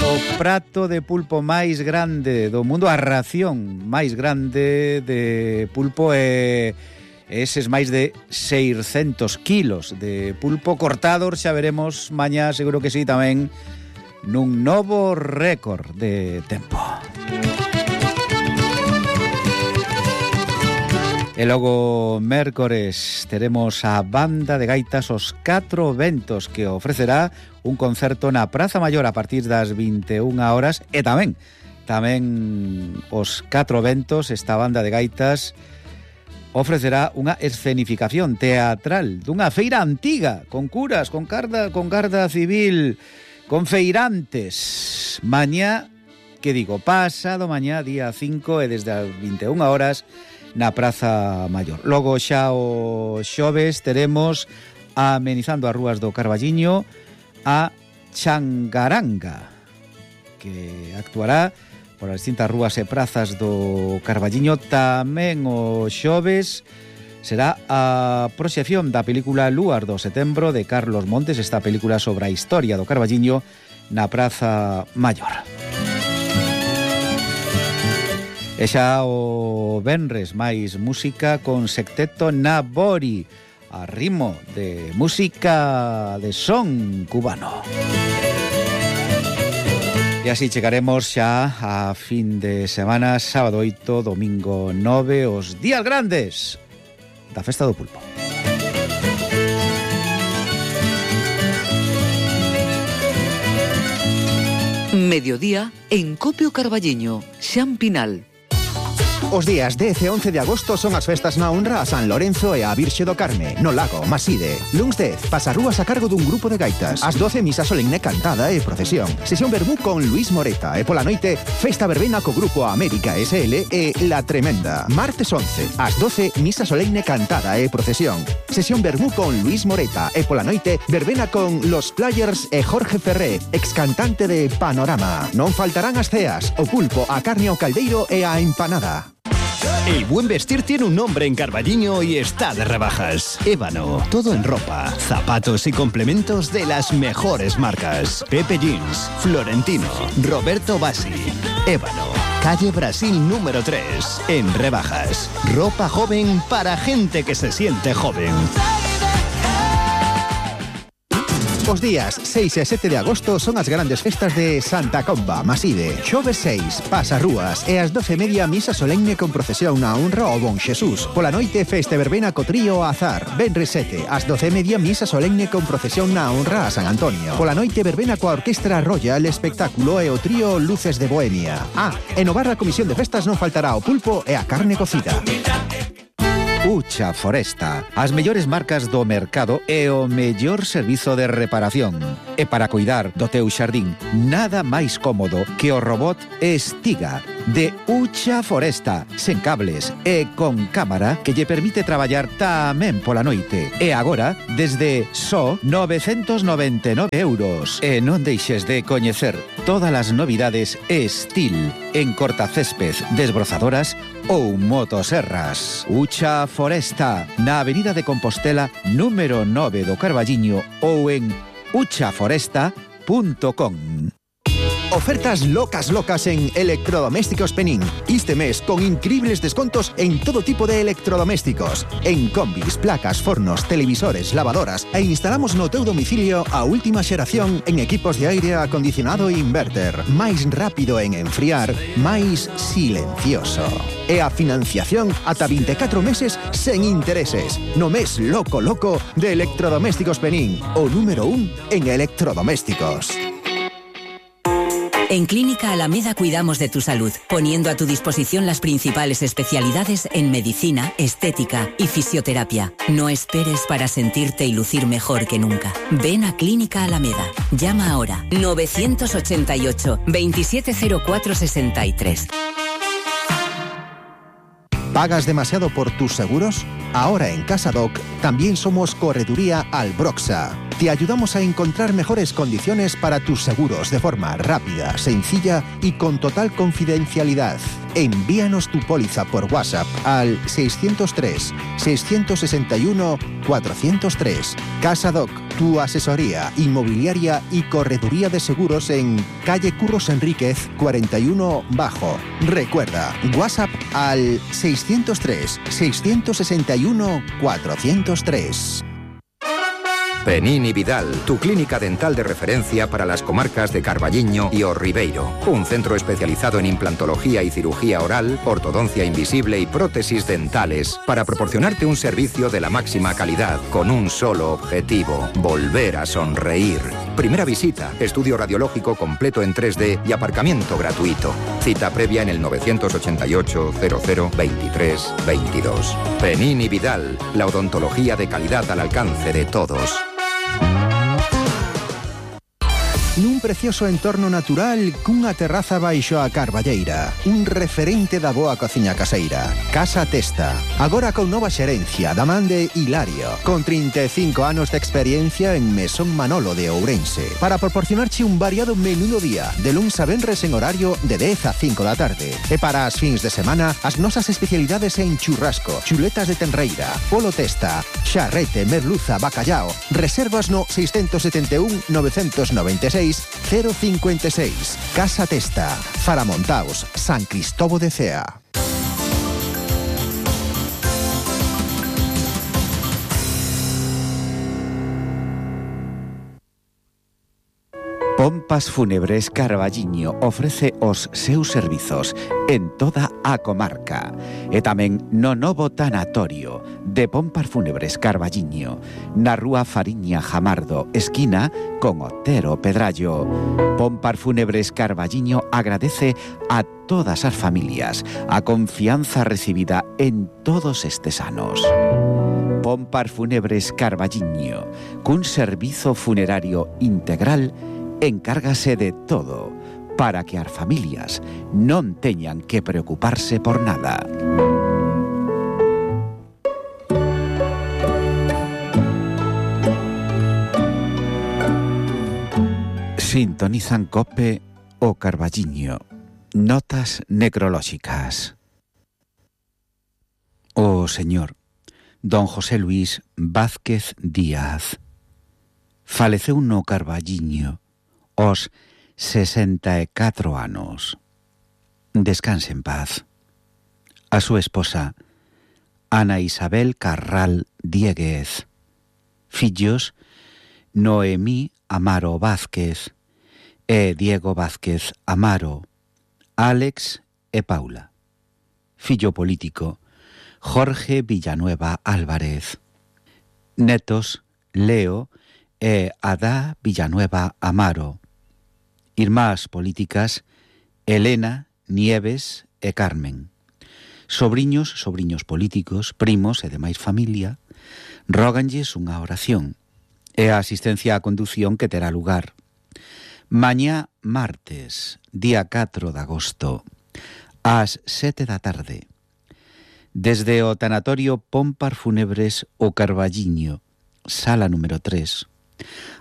A: O prato de pulpo máis grande do mundo, a ración máis grande de pulpo, e eses máis de seiscentos kilos de pulpo cortados, xa veremos mañá, seguro que sí, tamén nun novo récord de tempo. E logo mércores teremos a banda de gaitas Os Catro Ventos, que ofrecerá un concerto na Praza Maior a partir das vinte e unha horas, e tamén tamén Os Catro Ventos, esta banda de gaitas, ofrecerá unha escenificación teatral dunha feira antiga, con curas, con garda, con garda civil, con feirantes. Mañá, que digo, pasado mañá, día cinco, e desde as vinte e unha horas na Praza Maior. Logo xa o xoves teremos, amenizando as rúas do Carballiño, a Changaranga, que actuará por as distintas rúas e prazas do Carballiño. Tamén o xoves será a proxección da película Luar do Setembro de Carlos Montes, esta película sobre a historia do Carballiño, na Praza Maior. E xa o venres máis música con Secteto Nabori, a ritmo de música de son cubano. E así chegaremos xa a fin de semana, sábado oito, domingo nove, os días grandes da Festa do Pulpo.
C: Mediodía en Copio Carballiño, Xan Pinal.
D: Os días dez e once de agosto son as festas na honra a San Lorenzo e a Virxe do Carme, no Lago Maside. Luns dez, pasarrúas a cargo dun grupo de gaitas. Ás doce, misa solemne cantada e procesión. Sesión verbú con Luis Moreta. E pola noite, festa verbena co grupo América S L e La Tremenda. Martes once, ás doce, misa solemne cantada e procesión. Sesión verbú con Luis Moreta. E pola noite, verbena con Los Players e Jorge Ferré, ex cantante de Panorama. Non faltarán as ceas, o pulpo, a carne ao caldeiro e a empanada.
I: El buen vestir tiene un nombre en Carballiño y está de rebajas. Ébano, todo en ropa, zapatos y complementos de las mejores marcas. Pepe Jeans, Florentino, Roberto Bassi. Ébano, calle Brasil número tres, en rebajas. Ropa joven para gente que se siente joven.
D: Os días seis e sete de agosto son as grandes festas de Santa Comba, Maside. Xoves seis, pasarrúas, e ás doce e media misa solemne con procesión na honra ao Bon Xesús. Pola noite, festa verbena co trío Azar. Venres sete, ás doce e media misa solemne con procesión na honra a San Antonio. Pola noite, verbena coa Orquestra Royal, espectáculo e o trío Luces de Bohemia. Ah, e no bar da Comisión de Festas non faltará o pulpo e a carne cocida.
A: Ucha Foresta, as mellores marcas do mercado e o mellor servizo de reparación. E para cuidar do teu xardín, nada máis cómodo que o robot Estiga.
D: de Ucha Foresta, sen cables e con cámara que lle permite traballar tamén pola noite. E agora, desde só novecentos noventa e nove euros. E non deixes de coñecer todas as novidades Estil en cortacésped, desbrozadoras ou motoserras. Ucha Foresta, na Avenida de Compostela, número nove do Carballiño ou en ucha foresta punto com. Ofertas locas locas en Electrodomésticos Penín. Este mes con increíbles descontos en todo tipo de electrodomésticos. En combis, placas, fornos, televisores, lavadoras e instalamos no teu domicilio a última xeración en equipos de aire acondicionado e inverter. Máis rápido en enfriar, máis silencioso. E a financiación ata vinte e catro meses sen intereses. No mes loco loco de Electrodomésticos Penín, o número un en electrodomésticos.
J: En Clínica Alameda cuidamos de tu salud, poniendo a tu disposición las principales especialidades en medicina, estética y fisioterapia. No esperes para sentirte y lucir mejor que nunca. Ven a Clínica Alameda. Llama ahora nueve ochenta y ocho, veintisiete cero cuatro sesenta y tres.
D: ¿Pagas demasiado por tus seguros? Ahora en CasaDoc también somos Correduría Albroxa. Te ayudamos a encontrar mejores condiciones para tus seguros de forma rápida, sencilla y con total confidencialidad. Envíanos tu póliza por WhatsApp al seiscientos tres, seiscientos sesenta y uno, cuatrocientos tres. CasaDoc, tu asesoría inmobiliaria y correduría de seguros en calle Curros Enríquez cuarenta y uno Bajo. Recuerda, WhatsApp al seiscientos tres, seiscientos sesenta y uno, cuatrocientos tres.
K: Penín y Vidal, tu clínica dental de referencia para las comarcas de Carballiño y O Ribeiro. Un centro especializado en implantología y cirugía oral, ortodoncia invisible y prótesis dentales para proporcionarte un servicio de la máxima calidad con un solo objetivo: volver a sonreír. Primera visita, estudio radiológico completo en tres D y aparcamiento gratuito. Cita previa en el novecientos ochenta y ocho, cero cero, veintitrés, veintidós. Penín y Vidal, la odontología de calidad al alcance de todos.
D: Nun precioso entorno natural cunha terraza baixo a carballeira. Un referente da boa cociña caseira. Casa Testa. Agora con nova xerencia da man de Hilario. Con trinta e cinco anos de experiencia en Mesón Manolo de Ourense. Para proporcionarche un variado menú do día. De luns a venres en horario de dez a cinco da tarde. E para as fins de semana, as nosas especialidades en churrasco, chuletas de tenreira, polo testa, charrete, merluza, bacallao. Reservas no seiscientos setenta e un, novecentos noventa e seis, cero cincuenta y seis. Casa Testa, Faramontaos, San Cristóbal de Cea.
A: Pompas Fúnebres Carballiño ofrece os seus servizos en toda a comarca e tamén no novo tanatorio de Pompas Fúnebres Carballiño na rúa Fariña Jamardo, esquina con Otero Pedrallo. Pompas Fúnebres Carballiño agradece a todas as familias a confianza recibida en todos estes anos. Pompas Fúnebres Carballiño, cun servizo funerario integral, encárgase de todo para que as familias non teñan que preocuparse por nada. Sintonizan COPE o Carballiño. Notas necrolóxicas. O señor don José Luis Vázquez Díaz faleceu no Carballiño os sesenta e catro anos. Descanse en paz. A súa esposa, Ana Isabel Carral Dieguez. Fillos, Noemí Amaro Vázquez e Diego Vázquez Amaro, Álex e Paula. Fillo político, Jorge Villanueva Álvarez. Netos, Leo e Adá Villanueva Amaro. Irmás políticas, Elena, Nieves e Carmen. Sobriños, sobriños políticos, primos e demais familia, róganlles unha oración e a asistencia á condución que terá lugar mañá martes, día catro de agosto, ás sete da tarde. Desde o tanatorio Pompar Fúnebres o Carballiño, sala número tres,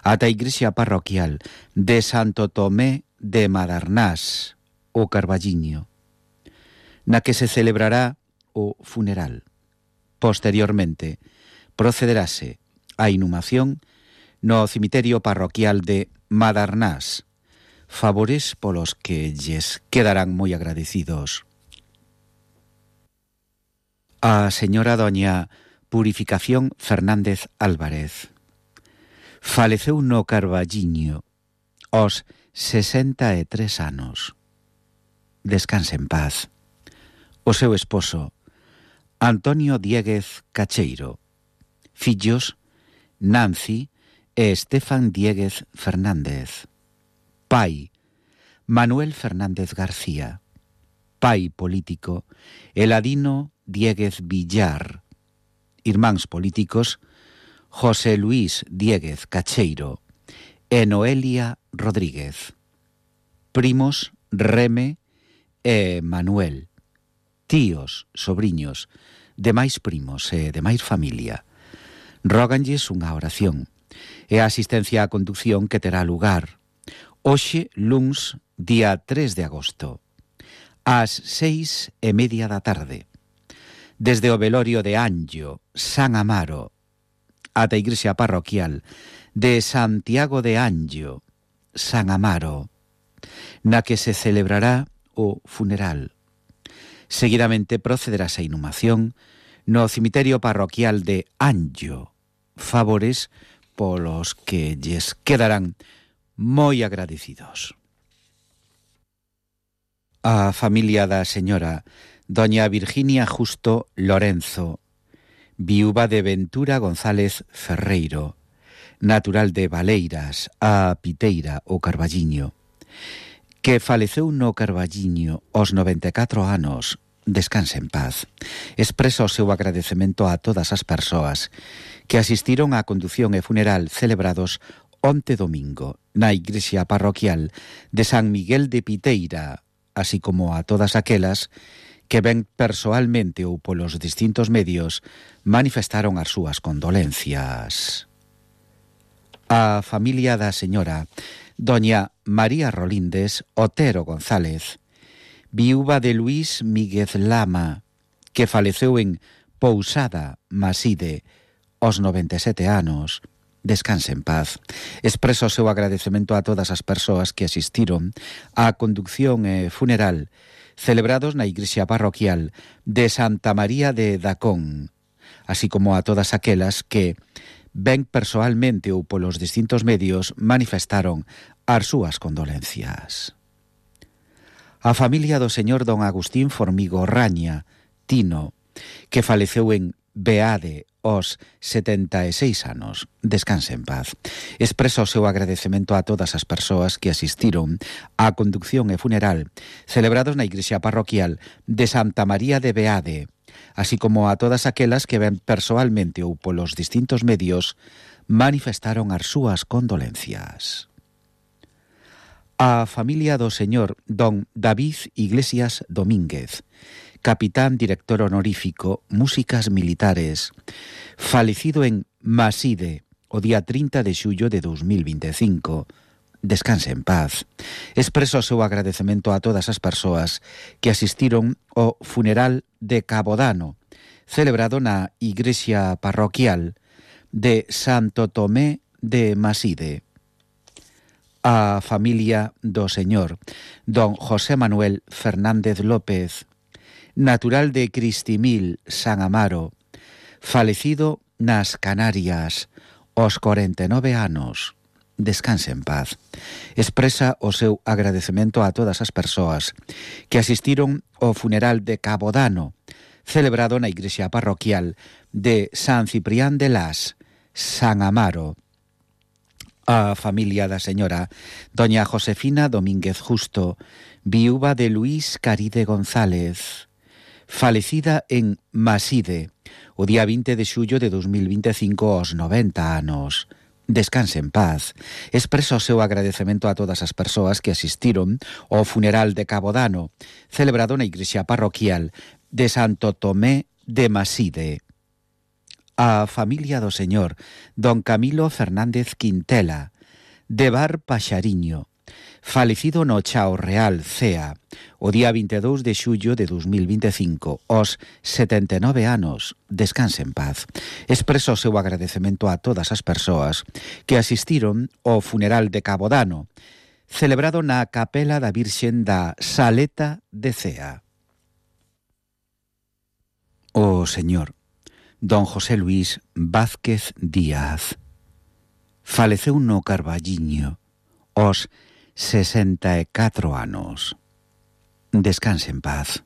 A: ata a igrexa parroquial de Santo Tomé de Madarnás, o Carballiño, na que se celebrará o funeral. Posteriormente, procederase a inhumación no cemiterio parroquial de Madarnás, favores polos que lles quedarán moi agradecidos. A señora doña Purificación Fernández Álvarez faleceu no Carballiño aos sesenta e tres anos. Descanse en paz. O seu esposo, Antonio Dieguez Cacheiro. Fillos, Nancy e Estefan Dieguez Fernández. Pai, Manuel Fernández García. Pai político, Eladino Dieguez Villar. Irmáns políticos, José Luis Dieguez Cacheiro e Noelia Rodríguez. Primos, Reme e Manuel. Tíos, sobriños, demais primos e demais familia. Róganlles unha oración e a asistencia á conducción que terá lugar hoxe, luns, día tres de agosto, ás seis e media da tarde, desde o velorio de Anllo, San Amaro, ata a igrexa parroquial de Santiago de Anllo, San Amaro, na que se celebrará o funeral. Seguidamente procederá a inhumación no cemiterio parroquial de Anllo, favores polos que lles quedarán moi agradecidos. A familia da señora doña Virginia Justo Lorenzo, viúva de Ventura González Ferreiro, natural de Valeiras, a Piteira, o Carballiño, que faleceu no Carballiño aos noventa e catro anos. Descanse en paz. Expresa o seu agradecemento a todas as persoas que asistiron á condución e funeral celebrados onte domingo na igrexa parroquial de San Miguel de Piteira, así como a todas aquelas que ben persoalmente ou polos distintos medios manifestaron as súas condolencias. A familia da señora doña María Rolindes Otero González, viúva de Luís Míguez Lama, que faleceu en Pousada, Maside, aos noventa e sete anos. Descanse en paz. Expreso o seu agradecemento a todas as persoas que asistiron á conducción e funeral celebrados na igrexa parroquial de Santa María de Dacón, así como a todas aquelas que, ben persoalmente ou polos distintos medios, manifestaron as súas condolencias. A familia do señor don Agustín Formigo Raña, Tino, que faleceu en Beade aos setenta e seis anos. Descanse en paz. Expresa o seu agradecemento a todas as persoas que asistiron á conducción e funeral celebrados na igrexa parroquial de Santa María de Beade, así como a todas aquelas que ben persoalmente ou polos distintos medios manifestaron as súas condolencias. A familia do señor don David Iglesias Domínguez, capitán director honorífico Músicas Militares, falecido en Maside o día trinta de xullo de dos mil vinte e cinco. Descanse en paz. Expreso o seu agradecemento a todas as persoas que asistiron ao funeral de Cabodano, celebrado na igrexa parroquial de Santo Tomé de Maside. A familia do señor don José Manuel Fernández López, natural de Cristimil, San Amaro, falecido nas Canarias aos corenta e nove anos. Descanse en paz. Expresa o seu agradecemento a todas as persoas que asistiron ao funeral de Cabodano, celebrado na igrexa parroquial de San Ciprián de Las, San Amaro. A familia da señora doña Josefina Domínguez Justo, viúva de Luís Caride González, falecida en Maside o día vinte de xullo de dos mil vinte e cinco aos noventa anos. Descanse en paz. Expreso o seu agradecemento a todas as persoas que asistiron ao funeral de Cabodano, celebrado na igrexa parroquial de Santo Tomé de Maside. A familia do señor don Camilo Fernández Quintela, de Bar Paxariño, falecido no Chao Real, Cea, o día vinte e dous de xullo de dos mil vinte e cinco, aos setenta e nove anos. Descanse en paz. Expreso o seu agradecemento a todas as persoas que asistiron ao funeral de Cabodano, celebrado na Capela da Virxen da Saleta de Cea. O señor don José Luis Vázquez Díaz faleceu no Carballiño aos sesenta e catro anos. Descanse en paz.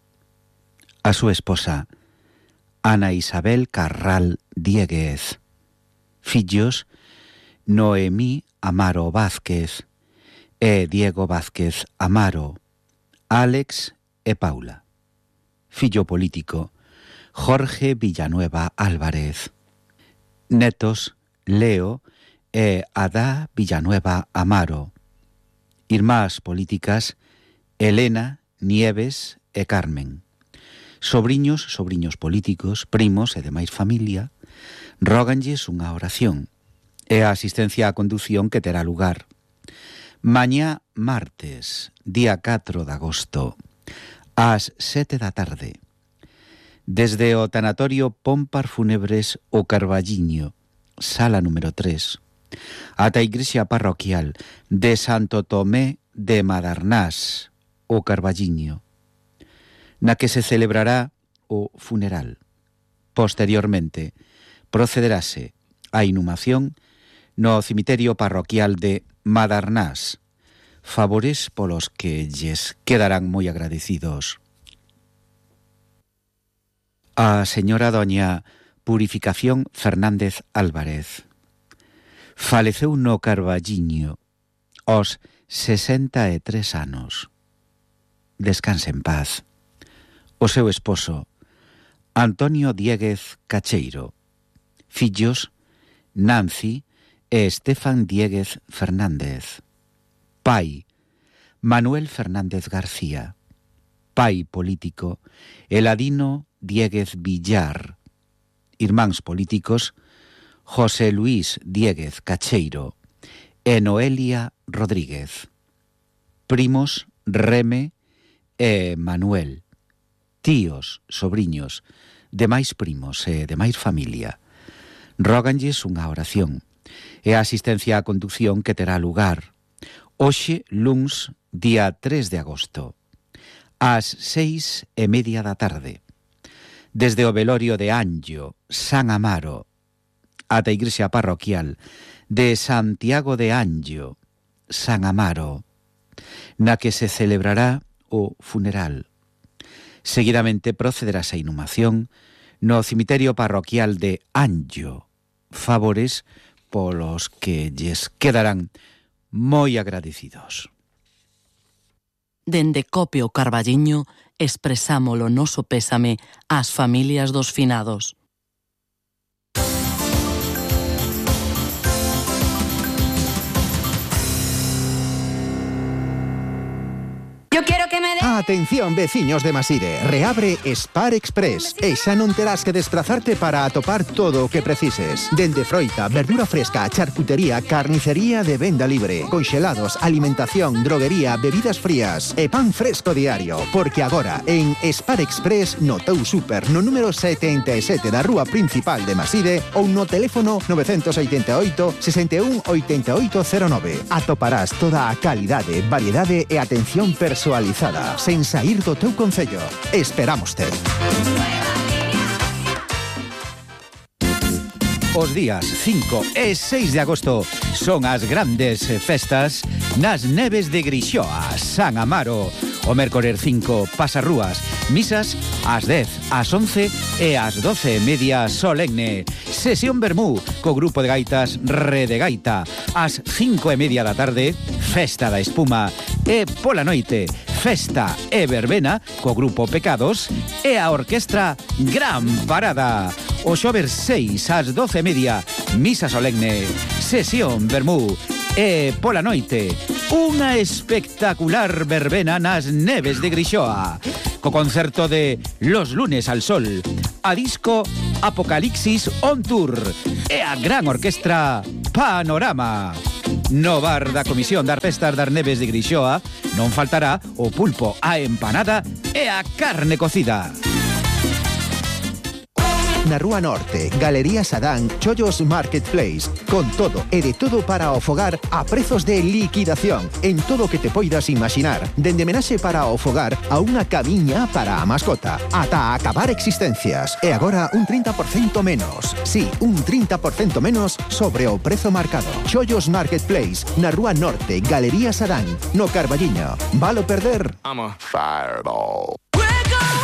A: A súa esposa Ana Isabel Carral Dieguez, fillos Noemí Amaro Vázquez e Diego Vázquez Amaro, Álex e Paula. Fillo político Jorge Villanueva Álvarez. Netos Leo e Adá Villanueva Amaro. Irmás políticas Elena, Nieves e Carmen. Sobriños, sobriños políticos, primos e demais familia, róganlles unha oración e a asistencia á condución que terá lugar mañá martes, día catro de agosto, ás sete da tarde, desde o tanatorio Pompar Fúnebres o Carballiño, sala número tres, ata a igrexa parroquial de Santo Tomé de Madarnás, o Carballiño, na que se celebrará o funeral. Posteriormente, procederase a inhumación no cemiterio parroquial de Madarnás, favores polos que lles quedarán moi agradecidos. A señora doña Purificación Fernández Álvarez faleceu no Carballiño aos sesenta e tres anos. Descanse en paz. O seu esposo Antonio Dieguez Cacheiro, fillos Nancy e Estefan Dieguez Fernández. Pai Manuel Fernández García. Pai político Eladino Dieguez Villar. Irmáns políticos José Luis Dieguez Cacheiro e Noelia Rodríguez. Primos Reme e Manuel. Tíos, sobriños, demais primos e demais familia. Róganlles unha oración e a asistencia á condución que terá lugar hoxe, luns, día tres de agosto, ás seis e media da tarde, desde o velorio de Anllo, San Amaro, ata a igrexa parroquial de Santiago de Anllo, San Amaro, na que se celebrará o funeral. Seguidamente procederá a inhumación no cemiterio parroquial de Anllo, favores polos que lles quedarán moi agradecidos.
L: Dende Copio Carballiño expresamos o noso pésame ás familias dos finados.
M: Yo quiero que me dé...
D: Atención, veciños de Maside, reabre Spar Express e xa non terás que desplazarte para atopar todo o que precises. Dende froita, verdura fresca, charcutería, carnicería de venda libre, conxelados, alimentación, droguería, bebidas frías e pan fresco diario. Porque agora, en Spar Express, no teu super, no número setenta e sete da rúa principal de Maside ou no teléfono nove oito oito, seis un, oito oito cero nove. Atoparás toda a calidade, variedade e atención personalizada, sen sair do teu concello. Esperámoste.
A: Os días cinco e seis de agosto son as grandes festas nas neves de Grixoa, San Amaro. O mércores cinco, pasarrúas, misas ás dez, ás once e ás doce e media solemne. Sesión Bermú co grupo de gaitas Rede Gaita. Ás cinco e media da tarde, festa da espuma. E pola noite, festa e verbena co grupo Pecados e a orquestra Gran Parada. O xoves seis ás doce e media, misa solemne. Sesión Vermú e pola noite unha espectacular verbena nas neves de Grixoa, co concerto de Los lunes al sol, a disco Apocalipsis on Tour e a gran orquestra Panorama. No bar da Comisión das Festas das Neves de Grixoa non faltará o pulpo, a empanada e a carne cocida.
D: Na Rúa Norte, Galería Sadán, Chollos Marketplace. Con todo e de todo para o fogar a prezos de liquidación en todo o que te poidas imaginar. Dende menaxe para o fogar a unha camiña para a mascota. Ata acabar existencias. E agora un trinta por cento menos. Sí, un trinta por cento menos sobre o prezo marcado. Chollos Marketplace, na Rúa Norte, Galería Sadán, no Carballiño. Valo perder?
N: I'm a fireball.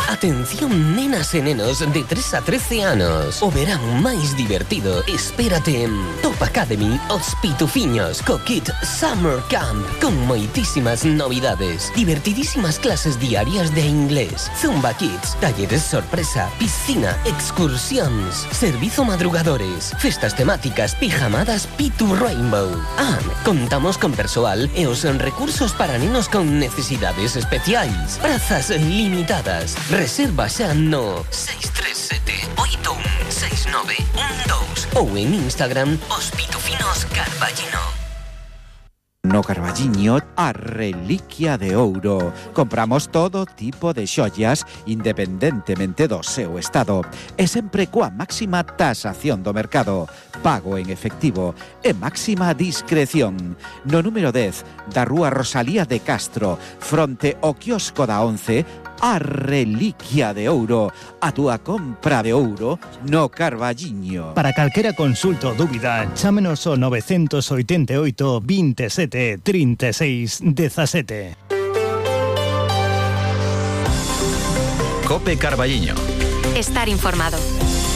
F: Atención nenas e nenos de tres a trece anos. O verán máis divertido espérate en Top Academy Os Pitufiños co kit Summer Camp, con moitísimas novidades, divertidísimas clases diarias de inglés, Zumba Kids, talleres sorpresa, piscina, excursións, servizo madrugadores, festas temáticas, pijamadas Pitu Rainbow. Ah, contamos con persoal e os recursos para nenos con necesidades especiais. Prazas limitadas. Reserva xa no seis tres sete oito un seis nove un dos ou en Instagram Os Pitufinos Carballiño.
A: No Carballiño, a reliquia de ouro. Compramos todo tipo de xollas independentemente do seu estado e sempre coa máxima tasación do mercado, pago en efectivo e máxima discreción. No número dez da Rúa Rosalía de Castro, fronte ao quiosco da once, a reliquia de ouro, a túa compra de ouro no Carballiño.
I: Para calquera consulta ou dúbida, chámenos ao nove oito oito, veintisiete, trinta e seis, dezasete.
O: Cope Carballiño.
M: Estar informado.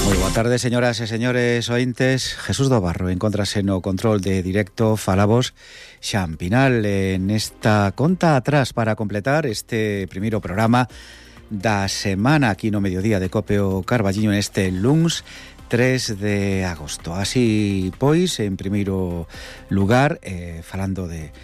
A: Moi boa tarde, señoras e señores ointes. Jesús do Barro encóntrase no control de directo. Falabos Xan Pinal en esta conta atrás para completar este primeiro programa da semana aquí no mediodía de Cope o Carballiño neste luns tres de agosto. Así pois, en primeiro lugar, eh, falando de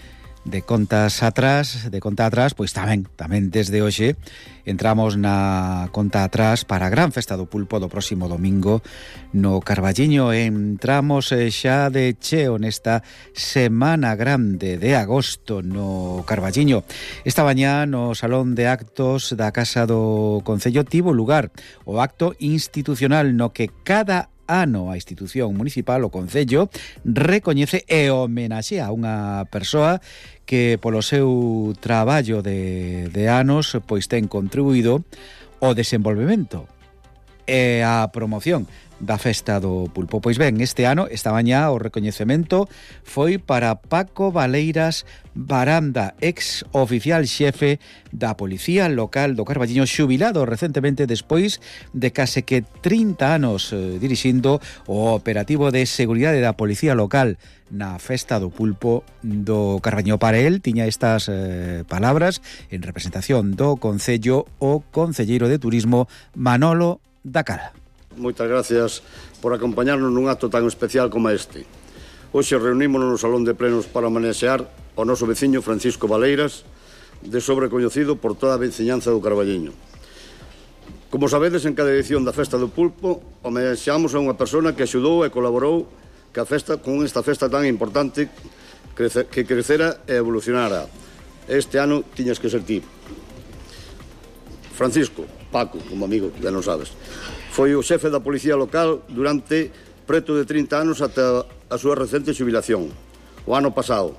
A: de contas atrás, de conta atrás, pois tamén, tamén desde hoxe entramos na conta atrás para a gran festa do pulpo do próximo domingo no Carballiño. Entramos xa de cheo nesta semana grande de agosto no Carballiño. Esta mañá no Salón de Actos da Casa do Concello tivo lugar o acto institucional no que cada ano a institución municipal, o Concello, recoñece e homenaxea a unha persoa que polo seu traballo de, de anos pois ten contribuído ao desenvolvemento e a promoción da festa do pulpo. Pois ben, este ano, esta mañá, o recoñecemento foi para Paco Valeiras Baranda, ex oficial xefe da Policía Local do Carballiño, xubilado recentemente despois de case que trinta anos eh, dirixindo o operativo de seguridade da Policía Local na festa do pulpo do Carballiño. Para el tiña estas eh, palabras en representación do Concello o concelleiro de Turismo Manolo Dacal.
G: Moitas gracias por acompañarnos nun acto tan especial como este. Hoxe reunímonos no Salón de Plenos para homenaxear ao noso veciño Francisco Valeiras, de sobrecoñecido por toda a veciñanza do Carballiño. Como sabedes, en cada edición da Festa do Pulpo homenaxeamos a unha persona que axudou e colaborou que a festa, con esta festa tan importante crece, que crecera e evolucionara. Este ano tiñas que ser ti. Francisco, Paco, como amigo, ya non sabes, foi o xefe da Policía Local durante preto de trinta anos ata a súa recente xubilación, o ano pasado,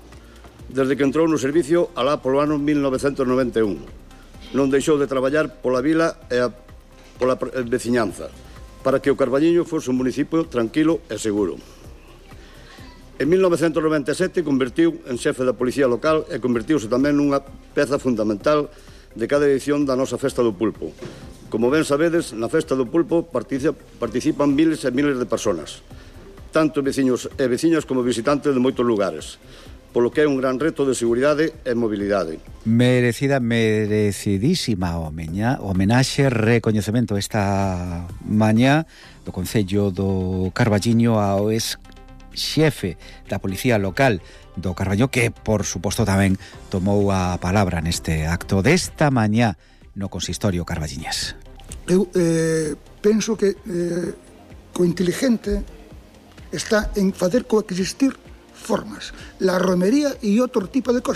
G: desde que entrou no servicio alá polo ano mil novecentos noventa e un. Non deixou de traballar pola vila e a, pola veciñanza, para que o Carballiño fose un municipio tranquilo e seguro. En mil novecentos noventa e sete convertiu en xefe da Policía Local e convertiuse tamén nunha peza fundamental de cada edición da nosa Festa do Pulpo. Como ben sabedes, na Festa do Pulpo participan miles e miles de personas, tanto veciños e veciñas como visitantes de moitos lugares, polo que é un gran reto de seguridade e mobilidade.
A: Merecida, merecidísima homeña, homenaxe, recoñecemento esta mañá do Concello do Carballiño ao ex xefe da Policía Local do Carballiño, que, por suposto, tamén tomou a palabra neste acto desta mañá no consistorio carballiñés.
H: Eu eh, penso que eh, co inteligente está en facer coexistir formas, la romería e outro tipo de cosas.